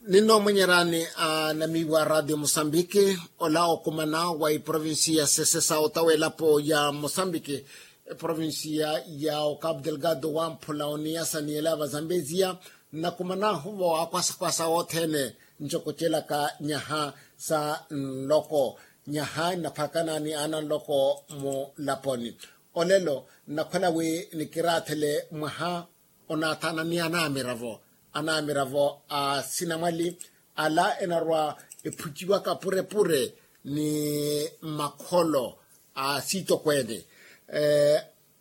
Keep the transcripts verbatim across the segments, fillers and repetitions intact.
Ninnoomwenyerani anamiiwa a ratio mosambiki, ola okumana wa iprovinsiya sese sa otawa elapo ya mosambiki, eprovinsiya ya ocapu delgado wamphula oniyasa ni ela va zambeziya. Nnakumanahu vo akwasa-kwasa othene ncokocelaka nyaha sa nloko, nyaha nnaphakana ni ana nloko mulaponi. Olelo nnakhwela wi nikiraathele mwaha onaathaana ni anamiravo, anamiravo a sinamwali ala enarwa ephuciwaka pure-pure ni makholo a siitokweene.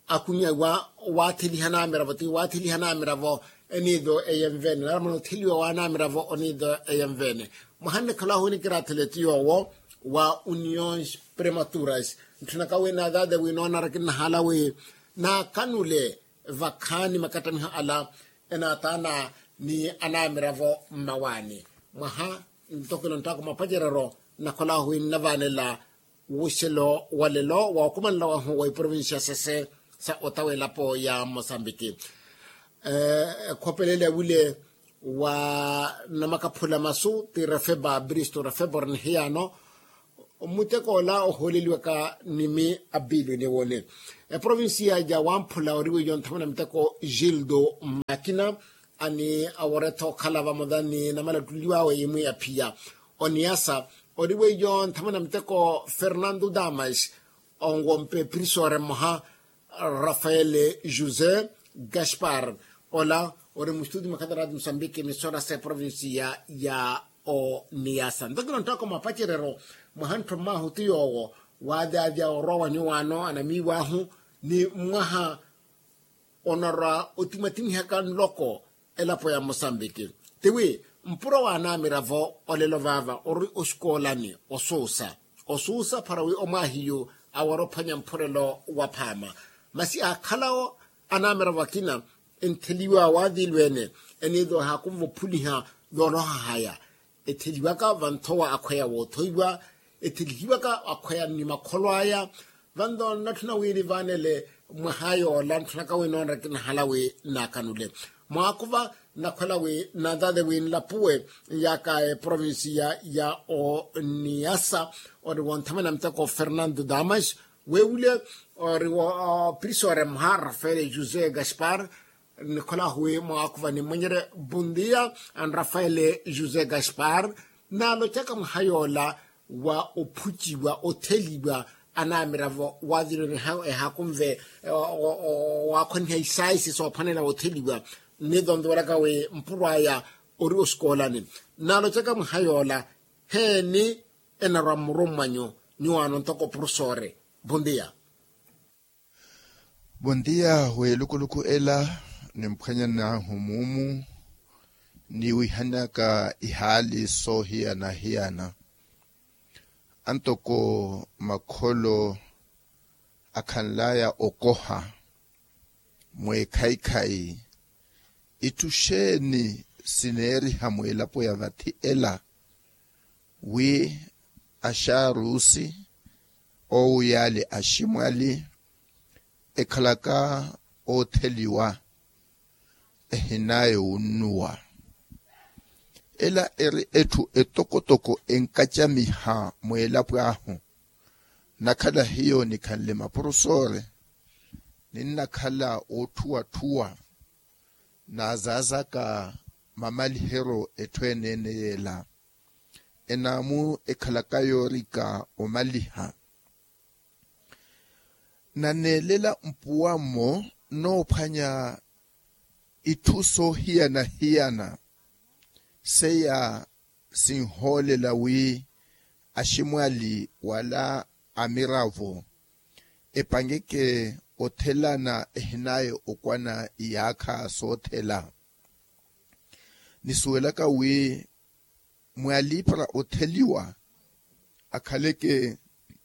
Akumiwa waatheliha anamiravo ti waatheliha anamiravo eniitho eyenveene naramana otheliwa wa anamiravo oniitho eyenveene. Mwaha nnikhala ahu nikiraathele ti yoowo wa union prematuras. Ntthanaka wi naathaathe wi noonara kinnahala wi naakanule vakhaani makattamiho ala enaathaana ni anamiravo mmawaani. Mwaha ntokelo nttaako mapacerero nnakhola ahu wi nnavaanela wuxelo wa lelo wa okumanela wahu wa iprovinsiya sese sa otawa elapo ya mosambiki. Ekhopelele wile wa namakaphula masu ti refeba bristo refeba ori nihiyano. Muteko ola ohooleliwaka nimi a bilu eniwoni eprovinsiya ja wamphula ori weiyo nthamana muteko gildo makina ani aworetha okhala vamola ni namalattuliw'awe imwi aphiya oniyasa ori weiyo nthamana muteko fernando damas onwompe prisore mmoha rafael josé gaspar ola ori mustuti mwa khatarati musambiki misora sa eprovinsiya ya oniyasa ntokelo nttako mapacerero mwaha nttho mmahu ti yoowo waadyaadya orwa wa nyuwaano anamiiw'ahu ni mwaha onarwa otimatimihaka nloko elapo ya mosambiki tiwi mpuro wa anamiravo olelo vaava ori osikoolani osuusa osuusa para wi omwaahiyu awara ophwanya mphurelo wa phaama masi aakhalawo anamiravo akina entheliwa waavilweene eniitho ehaakunva ophuliha yooloha haya etheliwaka vanthowa akhweya woothoiwa ethelihiwaka akhweya ni makholo aya vanto nnatthuna wi nivaanele mwaha yoola ntthanaka wi noonra kinahala wi naakanule mwaakuva nnakhwela wi naathaathe wi nlapuwe nyaaka eprovinsiya ya oniyasa ori wonthamana muteko fernando damas wewule ori prisore mmoha rafael josé gaspar nikholahu wi mwaakuva nimmwenyerye bundiya anrafaele josé gaspar naalocaka mwaha yoola wa ophuciwa otheliwa anamiravo waathiloniha ehaakunve waakhwaniha isaisi soophwanela wotheliwa nnitontuwelaka wi mpuro aya ori osikoolani naalocaka mwaha yoola heeni enarwa mmurummwanyu nyuwaano ntoko profesore bundiya. Vontiya w'elukuluku ela nimphwanyanahu muumu niwihanaka ihaali soohiyana-hiyana antoko makholo akhanlaya okoha mweekhaikhai itthu xeeni sineeriha mweelapo ya vathi ela wi axaarusi oowuyaali aximwali ekhalaka ootheliwa ehinaya owunnuwa ela eri etthu etokotoko enkacamiha mweelapo ahu nnakhala hiyo nikhanle maporosore ninnakhala ootthuwatthuwa naazaazaka mamaliheryo etthu eneene yeela enaamu ekhalaka yoorika omaliha naneelela mpuwa-mo noophwanya itthu soohiyana-hiyana seiya sinhoolela wi aximwali wala amiravo epangeke othelana ehinaya okwana iyaakha soothela nisuwelaka wi mwali para otheliwa akhaleke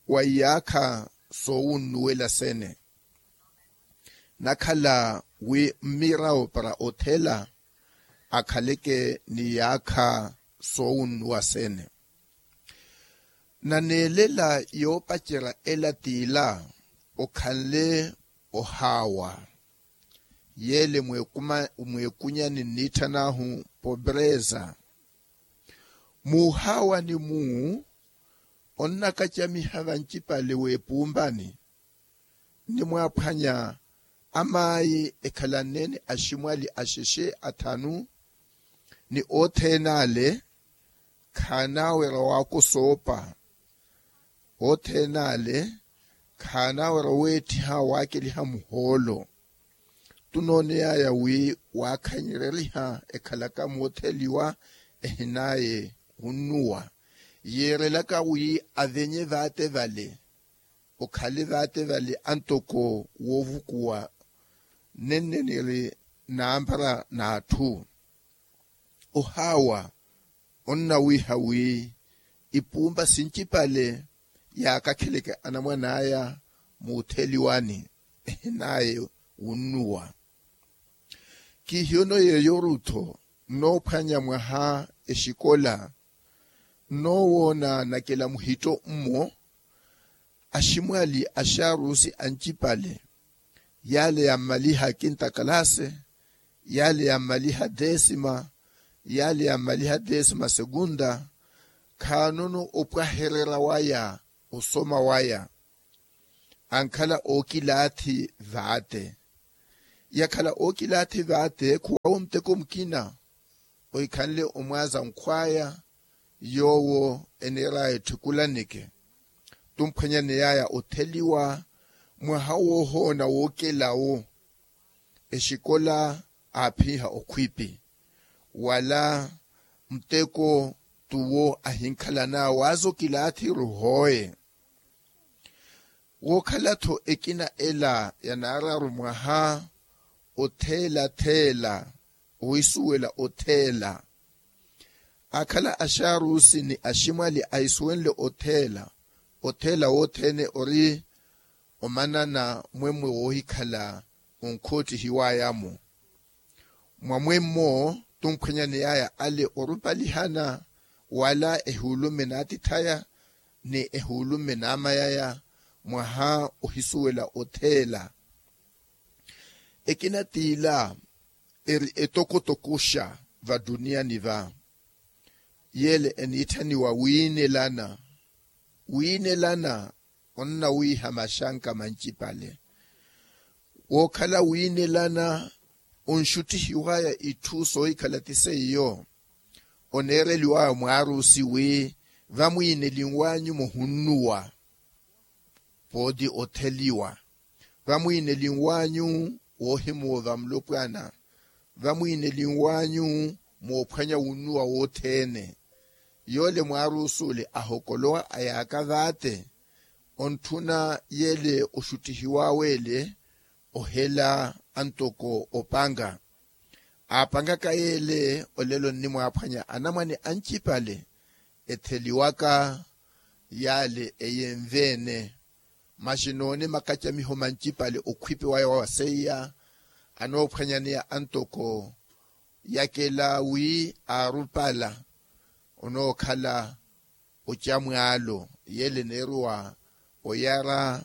wa iyaakha soowunnuwela sene nakhala wi mmirawo para othela akhaleke ni iyaakha soowunnuwa sene naneelela yoopacerya ela t'ila okhanle ohaawa yeele mweekunyani nniitthan'ahu popresa Muuhaawani-mu onnakacamiha vancipale w'epumpani, nnimwaaphwanya amaayi ekhalanne ni aximwali axexe athanu, ni othene ale khaanawerya waakosoopa, othene ale khaanawerya oweettiha waakeliha muhoolo. Tunooney'aya wi waakhanyereriha ekhalaka mootheliwa ehinaaye wunnuwa, yeerelaka wi avenye vaate vale, okhale vaate vale antoko woovukuwa, nenne niri nampara n'atthu. Ohaawa onnawiiha wi ipumpa sincipale yaakakheleke anamwan'aya muutheliwani ehinaaye wunnuwa. Kihiyono yeeyo rutho nnoophwanya mwaha exikola nnoowoona nakela muhitto mmo, aximwali axaarusi ancipale, yaale yammaliha kinta kalase, yaale yammaliha desima, yaale yammaliha desima sekunta, khaanono opwahererya waya osoma waya. Ankhala ookilaathi vaate, yakhala ookilaathi vaate khuwaawo muteko mukina ohikhanle omwaaza nkhw'aya yoowo eneer'aya etthikulaneke. Tumphwanyaney'aya otheliwa mwaha woohoona wookelawo exikola aaphiha okhwipi, wala muteko t'uwo ahinkhalan'awe waaza okilaathi ruhooye. Wookhala-tho ekina ela yanaararu mwaha otheela-theela, ohisuwela otheela. Aakhala axaarusi ni aximwali ahisuwenle otheela, otheela wothene ori omanana mwemmwe woohikhala onkhoottihiw'aya-mo. Mwamwemmo tumphwanyaney'aya ale orupalihana wala ehuulumme n'atith'aya ni ehuulumme n'amay'aya mwaha ohisuwela otheela. Ekina t'ila eri etokotokoxa vatuniyani va, yeele eniitthaniwa wiinelana. Wiinelana onnawiiha maxanka mancipale. Wookhala wiinelana onxuttihiw'aya itthu soohikhala ti seiyo, oneereliw'aya mwaarusi wi vamwiinelinw'anyu muhunnuwa pooti otheliwa, vamwiinelinw'anyu woohimuwa va mulopwana, vamwiinelinw'anyu moophwanya wunnuwa wothene. Yoole mwaarusi ole ahokolowa ayaaka vaate, ontthuna yeele oxuttihiw'awe ele ohela antoko opanka. Aapankaka yeele olelo nnimwaaphwanya anamwane ancipale etheliwaka yaale eyenve-ene. Masi noone makacamiho mancipale okhwipi waya wa seiya anoophwanyaneya antoko yakela wi aarupala onookhala ocamwaalo yeele eneeruwa oyara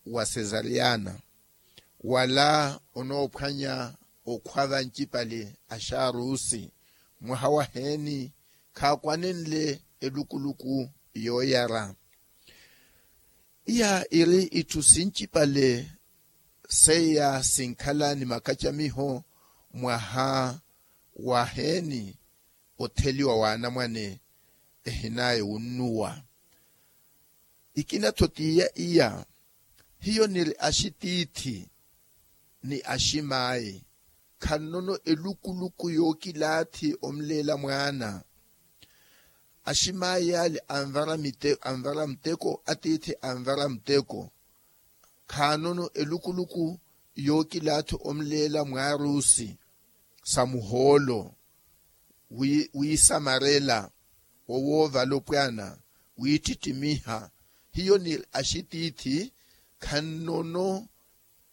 wa sesariyana, wala onoophwanya okhwa vancipale axaarusi mwaha waheeni khaakwanenle elukuluku yooyara. Iya iri itthu sincipale seiya sinkhala ni makacamiho mwaha waheeni otheliwa w'anamwane ehinaaye wunnuwa. Ikina-tho t'iya iya hiyo niri axitiithi ni aximaayi khannono elukuluku yookilaathi omuleela mwaana. Aximaayi yaale anvara muteko atiithi anvara muteko khaanono elukuluku yookilaathi omuleela mwaarusi sa muhoolo wiisamarela owoovala opwaana wiittittimmiha. Hiyo ni axitiithi khannono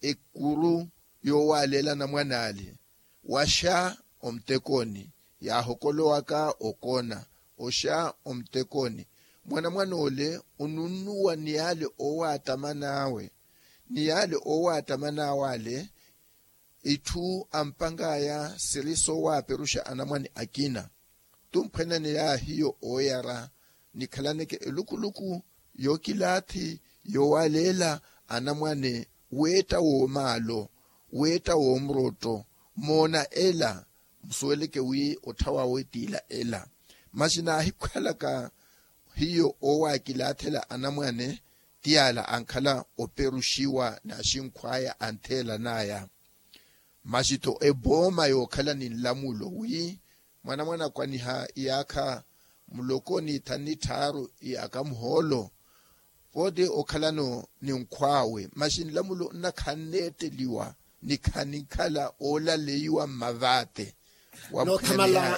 ekuru yoowaaleela anamwan'ale waxa omutekoni yaahokolowaka okona oxa omutekoni. Mwanamwan'ole onunnuwa ni yaale oowaattaman'awe ni yaale oowaattaman'awe ale itthu ampank'aya siri soowaaperuxa anamwane akina. tumphwenaneyaya hiyo ooyara nikhalaneke elukuluku yookilaathi yoowaleela anamwane weetta woomaalo weetta woomurotto moona ela musuweleke wi otthawawe tiila ela masi naahikhwalaka hiyo oowakilaathela anamwane ti ala ankhala operuxiwa n'axinkhw'aya antheelan'aya masi-tho epooma yookhala ni nlamulo wi mwanamwane akwaniha iyaakha muloko ni thanu ni tthaaru iyaakha muhoolo pooti okhalano ni nkhw'awe masi nlamulo nna khanneetteliwa ni khanikhala oolaleiwa mmavaate. Noothamala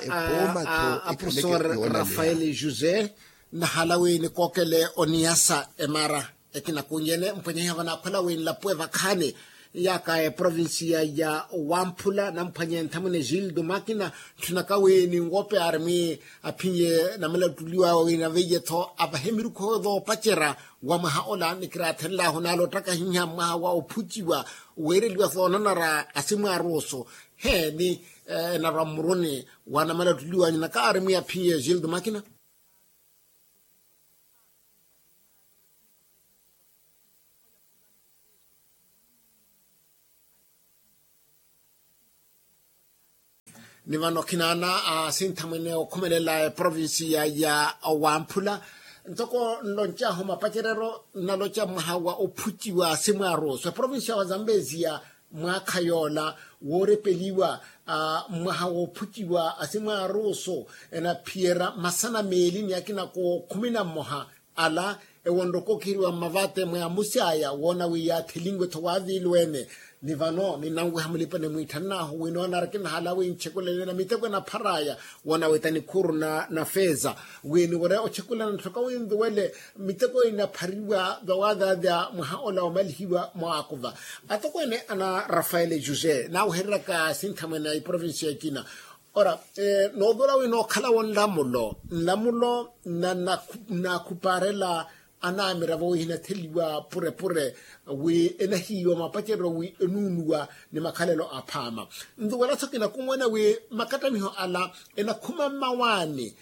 a profesor rafael josé nnahala wi nikookele oniyasa emara ekina kunyene mphwanyahiha vanaakhwela wi nlapuwe vakhaani yaaka eprovincia ya wamphula namphwanye nthamwene gildo makina ntthunaka wi ninwope arimi aphinye namalattuliwawe wi naveiye-tho avahe mirukhu yoopacerya wa mwaha ola nikiraathenlahu naala ottakahiha mwaha wa ophuciwa weereliwa soonanara asimwaaruusu he ni enarwa mmuruni wa namalattuliwanyu naka arimi aphinye gildo makina. Ni vano khinaana asinthamwene okhumelela eprovincia ya wamphula ntoko nloncahu mapacereryo nnaloca mwaha wa ophuciwa asimwaaruusu eprovincia wa zambezia mwaakha yoola woorepeliwa mwaha woophuciwa asimwaaruusu enaphiyerya masana meeli ni akina kookhumi na mmoha ala ewonrokokheriwa mmavate mwe amusi aya woona wi yaathelinwe-tho waaviilweene ni vano ninanweha mulipa ni mwiitthannaahu wi noonari kinahala wi ntxekulelena miteko enaphar'aya woona wi ta nikhuuru na feeza wi niwere otxekulana nthoka wi nduwele miteko inaphariwa vawaadhaadha mwaha ola omalihiwa mwaakuva atokweene ana rafael josé naawehereryaka sinthamwene a iprovincia ekina ora noothora wi nookhala-wo nlamulo nlamulo na naakhupaarela anaamiravo wi hinatheliwa purepure wi enahiiwa mapacereryo wi enuunuwa ni makhalelo aphaama nduwela-tho kinakumwene wi makattamiho ala enakhuma mmawaani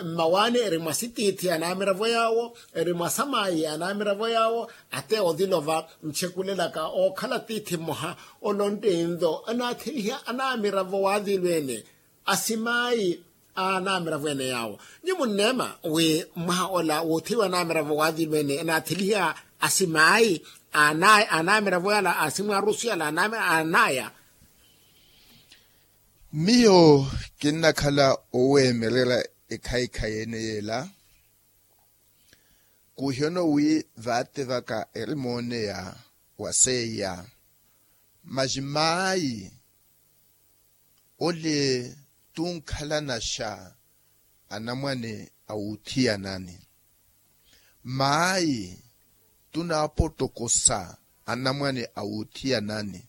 mmawaani eri mwa sitiithi anaamiravo yaawo eri mwa samaayi anaamiravo yaawo ate othilova ntxekulelaka ookhala tiithi mmoha olontte ntho anaatheliha anaamiravo waathilweene asimaayi anaamiravo ene yaawo nyi munneema wi mwaha ola wootheliwa anaamiravo waathilweene anaatheliha asimaayi anaamiravo yala asimwaarusu yala anaya miyo kinnakhala oweemererya ekhayikhayi ene yeela kuuhiyono wi vaate vaka eri mooneya wa seiya masi maayi ole tunkhalanaxa anamwane a wuuthiyanani maayi tunaapotokosa anamwane a wuuthiyanani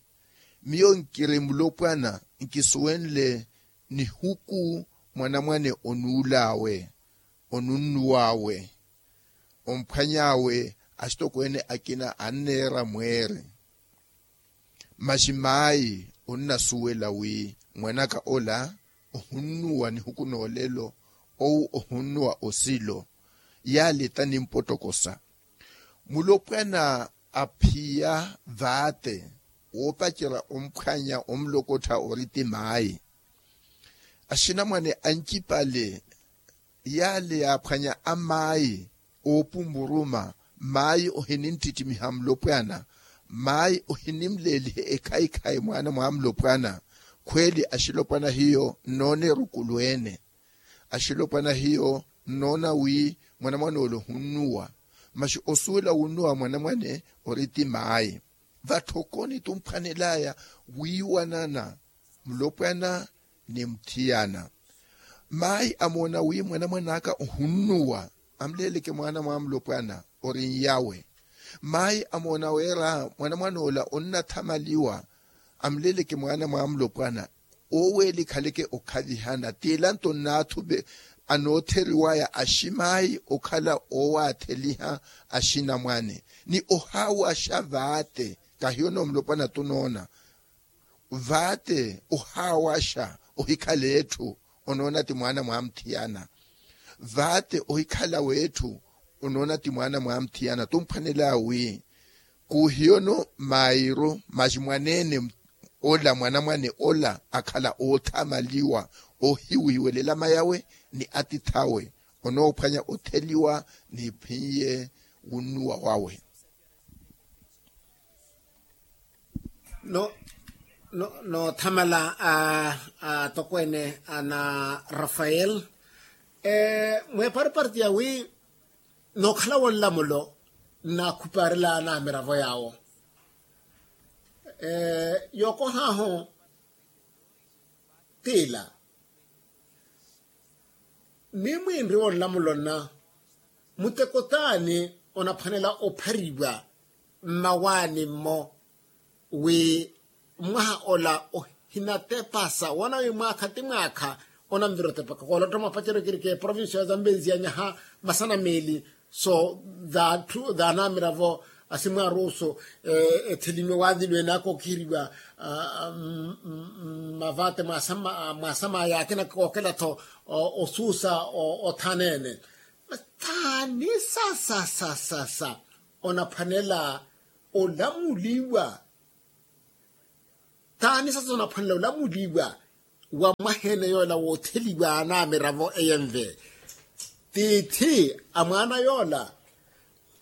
miyo nkiri mulopwana nkisuwenle nihuku mwanamwane onuul'awe onunnuw'awe omphwany'awe axitokweene akina anneera mweeri masi maayi onnasuwela wi mwan'aka ola ohunnuwa nihuku n'olelo owu ohunnuwa osilo yaale ta nimpotokosa mulopwana aphiya vaate woopacerya omphwanya omulokottha ori ti maayi axinamwane ancipale yaale yaaphwanya amaayi oopumuruma maayi ohininttittimiha mulopwana maayi ohinimleelihe ekhayikhayi mwaana mwa mulopwana khweeli axilopwana hiyo nnoona erukulu ene axilopwana hiyo nnoona wi mwanamwan'ole ohunnuwa masi osuwela wunnuwa mwanamwane ori ti maayi vatthokoni tumphwanel'aya wiiwanana mulopwana ni muthiyana maayi amoona wi mwanamwan'aka ohunnuwa amuleeleke mwaana mwa mulopwana ori nyawe maayi amoona wira mwanamwan'ola onnathamaliwa amuleeleke mwaana mwa mulopwana oweelikhaleke okhavihana t'ila nto nnaathupe anootheriwaya aximaayi okhala oowaatheliha axinamwane ni ohaawaxa vaate kahiyo noomulopwana tunoona vaate ohaawaxa ohikhala etthu onoona ti mwaana mwaamuthiyana. Vaate ohikhala w'etthu onoona ti mwaana mwaamuthiyana tumphwanela wi kuhiyono mairo maxi mwaneene ola mwanamwane ola akhala oothamaliwa ohiwiiwelela mayawe ni atith'awe onoophwanya otheliwa n'iphin'ye wunnuwa wawe. No no noothamala a atokweene ana rafael mweepariparti yawi nookhala wonlamulo nnaakhupaarela anamiravo yaawo yookohaahu tiila. Mii mwiinri wonlamulo nna muteko t'ani onaphwanela ophariwa mmawaani-mo wi mwaha ola ohinatepasa woona wi mwaakha ti mwaakha onanvira otepaka koolotta mwapacerya okirika eprovincia ya zambezi ya nyaha masana meeli so th'atthu th'anamiravo asimwaaruuso ethelimiwe waathilwene aka okihiriwa mavate mwaasama yaakina kookela-tho osuusa othaneene. Thani sasa sasa sasa onaphwanela olamuliwa? Thani sasa onaphwanela olamuliwa wa mwaheene yoola wootheliwa anamiravo eyenve tiithi a mwaana yoola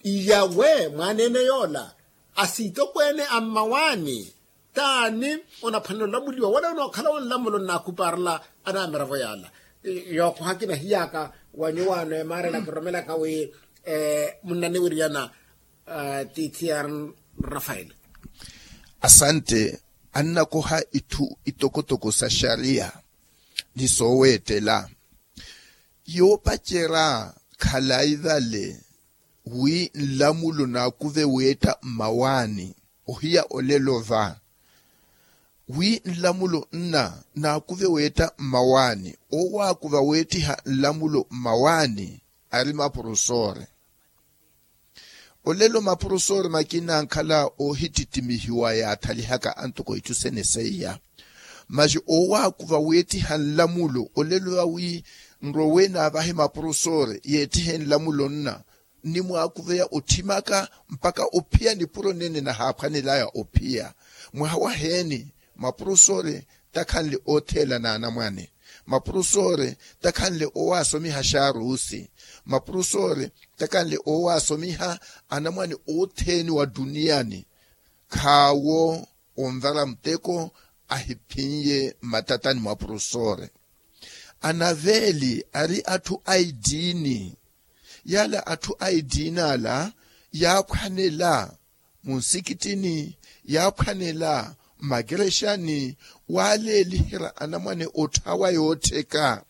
iyawe mwaneene yoola asitokweene a mmawaani? T'ani onaphwanela olamuliwa wala onookhala wonlamulo nnaakupaarela anamiravo yaala? Yookoha kinahiyaaka wa nyuwaano emaarela kiromelaka wi munnaniwiryana tiithi ya rafael. Asante. Annakoha itthu itokotoko sa xariya ni sooweettela yoopacerya khalayi vale wi nlamulo naakuve weetta mmawaani ohiya olelo va wi nlamulo nna naakuve weetta mmawaani oowaakuva weettiha nlamulo mmawaani ari mapurusoore. Olelo mapurusoore makina ankhala oohitittimihiwa yaathalihaka antoko itthu sene seiya masi oowaakuva weettiha nlamulo olelo awi nrowe naavahe mapurusoore yeettihe nlamulo nna nnimwaakuveya otthimaka mpakha ophiya nipuro nene nahaaphwanelaya ophiya mwaha waheeni? Mapurusoore takhanle ootheela n'anamwane. Mapurusoore takhanle oowaasomiha xaaruusi. Mapurusoore takhanle oowaasomiha anamwane othene wa duniyani khaawo onvara muteko ahiphinye mmatatani mwa purusoore. Anaveeli ari atthu a itiini. Yaala atthu a itiini ala yaaphwanela munsikitini, yaaphwanela mmakerexani waaleeliherya anamwane otthawa yoottheka.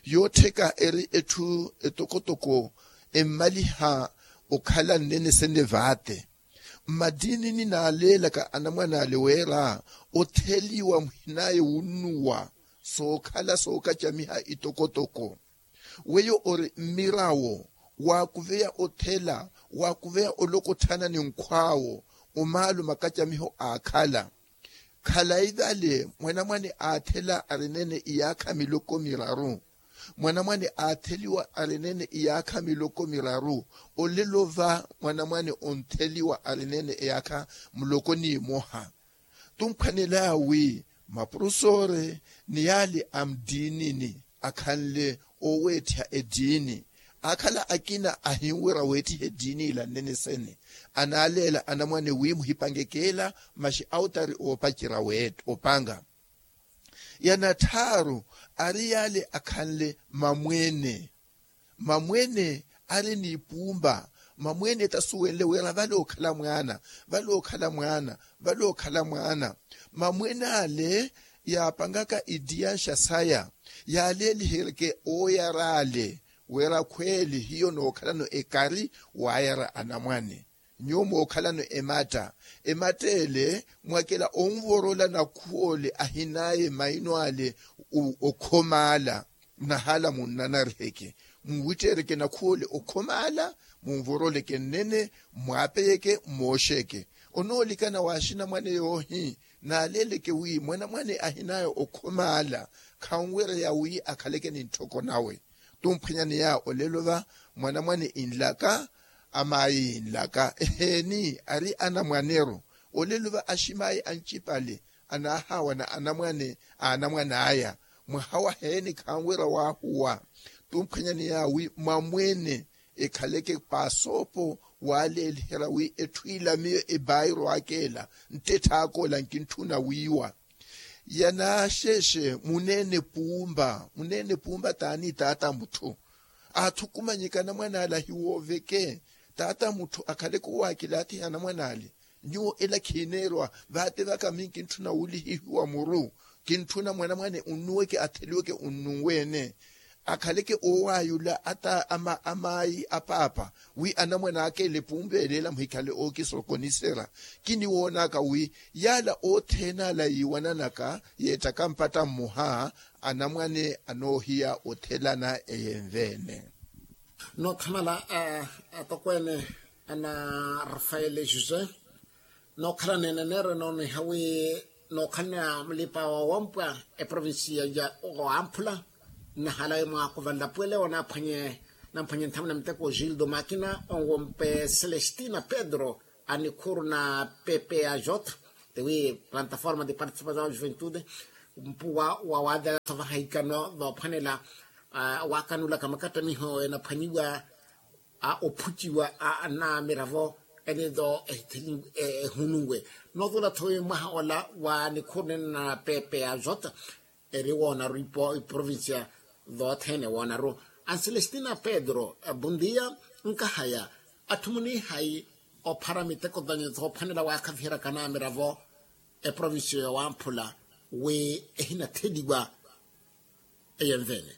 Yoottheka eri etthu etokotoko emmaliha okhala nnene sene vaate. Mmatiinini naaleelaka anamwane ale wira otheliwa muhinaye wunnuwa sookhala sookacamiha itokotoko. Weyo ori mmirawo waakuveya othela, waakuveya olokotthana ni nkhw'awo omaalo makacamiho aakhala. Khalayi vale mwanamwane aathela arinene iyaakha miloko miraru. Mwanamwane aatheliwa arinene iyaakha miloko miraru. Olelo va mwanamwane ontheliwa arinene iyaakha muloko n'imoha. Tumphwanelaya wi mapurusoore ni yaali a mutiinini akhanle ooweettiha ettiini. Aakhala akina ahinwira weettiha ettiini ila nnene sene. Anaaleela anamwane wi muhipangekeela maxi awutari oopacerya weetta opanga. Ya natthaaru ari yaale akhanle mamwene. Mamwene ari n'ipumba. Mamwene tasuwenle wira vale okhala mwaana, vale okhala mwaana, vale okhala mwaana. Mamwene ale yaapangaka ittiyanxa saya yaaleeliheryeke ooyara ale wira khweeli hiyo nookhalano ekari waayara anamwane. Nyuwo mookhalano ematta. Ematta ele mwakela onvorola nakhuwole ahinaye maino ale okhomaala. Nahaala munnanariheke muwitteereke nakhuwole okhomaala. Munvoroleke nnene mwaapeyeke mmooxeke. Onoolikana wa axinamwane yoohi naaleeleke wi mwanamwane ahinaye okhomaala khanwereya wi akhaleke ni ntthoko nawe. Tumphwanyaneya olelo va mwanamwane inlaka, amayi inlaka eheeni ari anamwaneru. Olelo va aximayi ancipale anaahawana anamwane a anamwane aya. Mwaha waheeni khanwerya wahuwa. Tumphwanyaneya wi mwamwene ekhaleke pasoopo waleeliherya wi etthu ila miyo ebairo akela ntetthaakoola nkintthuna wiiwa. Yanaaxexe muneene puumba muneene puumba taani taata mutthu. Athukumanyeke anamwane ale ahiwooveke. Taata mutthu akhaleke owaakilaathiha anamwane ale. Nyuwo ela khiineerwa vaate vaka miyo nkintthuna wuulihihiwa muru. Kintthuna mwanamwane unnuweke atheliweke unnunweene. Akhaleke oowayula ata ama amayi apaapa wi anamwane aka ele pumpeeleela muhikhale ookisokonisera. Kiniwoonaka wi yaala othene ala yiiwananaka yeettaka mpatta mmoha anamwane anoohiya othelana eyenveene. Noothamala atokweene ana rafaele josé nookhalana eneneero enooniha wi nookhalana mulipa wa wampwa eprovinsiya ya wamphula. Nnahala wi mwaakuvanlapuwele onamphwanye namphwanye nthamuna miteko gildo makina onwompe celestina pedro a nikhuru na pepe a jota tiwi plataforma de participação a juventude mpuwa wa waadala tho vahahikano voophwanela waakanulaka makattamiho enaphwanyiwa a ophuciwa a anamiravo ene tho ehununwe. Nootula tho wi mwaha ola wa nikhuru nene na pepe a jota eri woonaru iprovincia thoothene woonaru. Ancelestina pedro bundia nkahaya atthu munihayi ophara miteko thanyu thoophwanela waakhaviheryaka anamiravo eprovincia yowamphula wi ehinatheliwa eyenveene.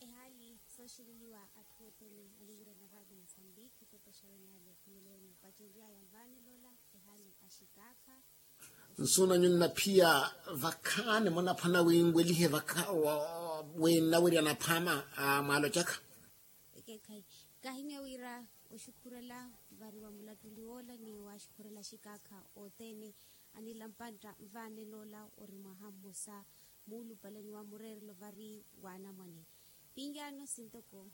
Ehaali sooxeleliwa atthu othene aliwira na raati musambiki pepe a xaroni ale khumuleni opacenryaya nvaanelo ola ehaali axikaakha. Nsuuna nyunnaphiya vakhaani munaphwana wi nwelihe vakha wi nnawerya naphaama mwaalocaka. Ekeekhayi kahinya wira oxukhurela vari wa mulattuli woola ni waaxukhurela axikaakha othene anila mpantta nvaanenoola ori mwaha mmosa muulupale ni wa mureerelo vari wa anamwane. Pinyaano sintoko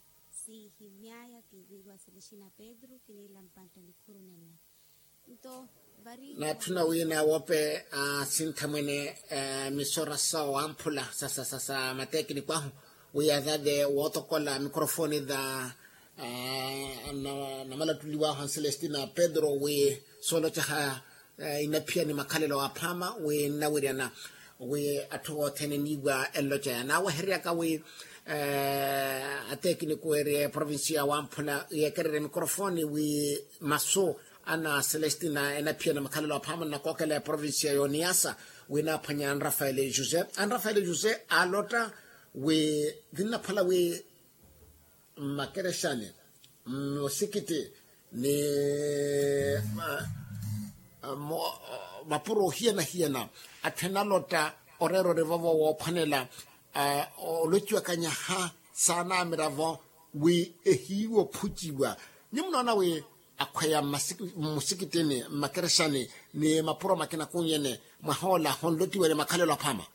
sihimyaya kiviiwa selexina pedro kiniila mpantta nikhuru nenna. Nto vari naatthuna wi naawoope sinthamwene misora sa wamphula sasa sasa matekiniko ahu wi yathathe wootokola mikorofoni tha namalattuliwahu ancelestina pedro wi soolocaha inaphiya ni makhalelo aphaama wi nnawiryana wi atthu othene niiwa enlocaya naaweheryaka wi atekiniku eri eprovincia wamphula yeekererye mikorofoni wi masu ana celestina enaphiya na makhalelo aphaama nnakookela eprovincia yoniyasa wi naaphwanya anrafaele josé anrafaele josé aalotta wi vinnaphala wi mmakerexani mmusikiti ni mapuro ohiyana-hiyana atthu enalotta oreera ori vovo woophwanela olociwaka nyaha saanamiravo wi ehiiwa ophuciwa. Nyi munoona wi akhweya mmusikitini mmakerexani ni mapuro makina kunyene mwaha ola honlotiwele makhalelo aphaama.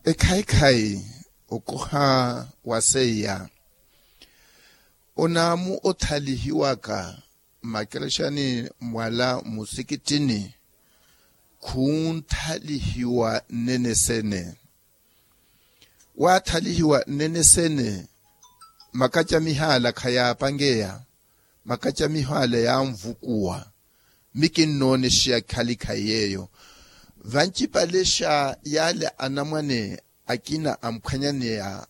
Ekhayi-khayi okoha wa seiya onaamu othalihiwaka mmakerexani mwala mmusikitini. Khunthalihiwa nnene sene waathalihiwa nnene sene makacamiho ala khayaapangeya makacamiho ala yaanvukuwa. Mi kinnoonexeya khali khayi yeeyo vancipalexa yaale anamwane akina amphwanyaneya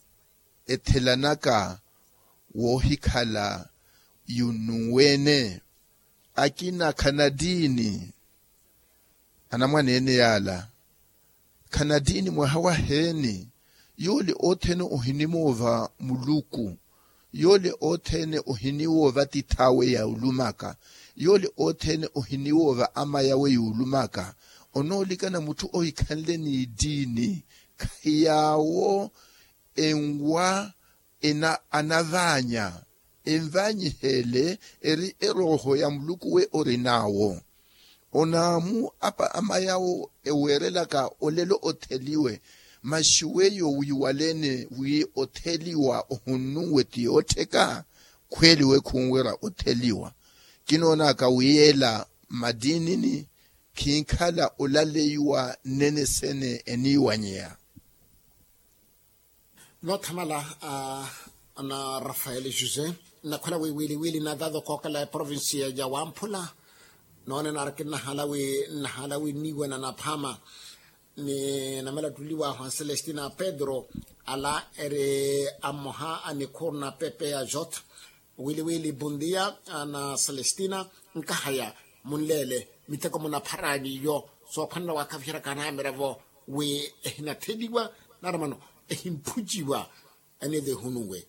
ethelanaka woohikhala yunnunweene akina khanattiini anamwaneene yaala khanattiini mwaha waheeni. Yoole othene ohinimoova muluku yoole othene ohiniwoova tith'awe yuulumaka yoole othene ohiniwoova ama yawe yuulumaka onoolikana mutthu ohikhanle n'ittiini khahi yaawo enwa anavaanya envaanyiheele eri erooho ya muluku we orin'awo. Onaamu apa amayawo eweerelaka olelo otheliwe. Maxi weyo wiiwaleene wi otheliwa ohunnunwe ti yoottheka. Khweeliwe khunwerya otheliwa. Kinoonaka wi yeela mmattiinini khinkhala olaleiwa nnene sene eniiwanyeya. Noothamala a na rafael josé, nnakhwela wi wiiliwiili na thatho kookela eprovincia ya wamphula. Noone naari kinnahala wi nnahala wi nniiwana naphaama ni namela ttuliwa a juan celestina pedro, ala eri a mmoha a nikhuuru na pepe ya jotha. Wiiliwiili bondia a na celestina, nkahaya munleele miteko munapharani iyo soophwanela waakhaviheraka anaamirevo wi ehinatheliwa nari mano ehimphuciwa. Aniive ehunuwe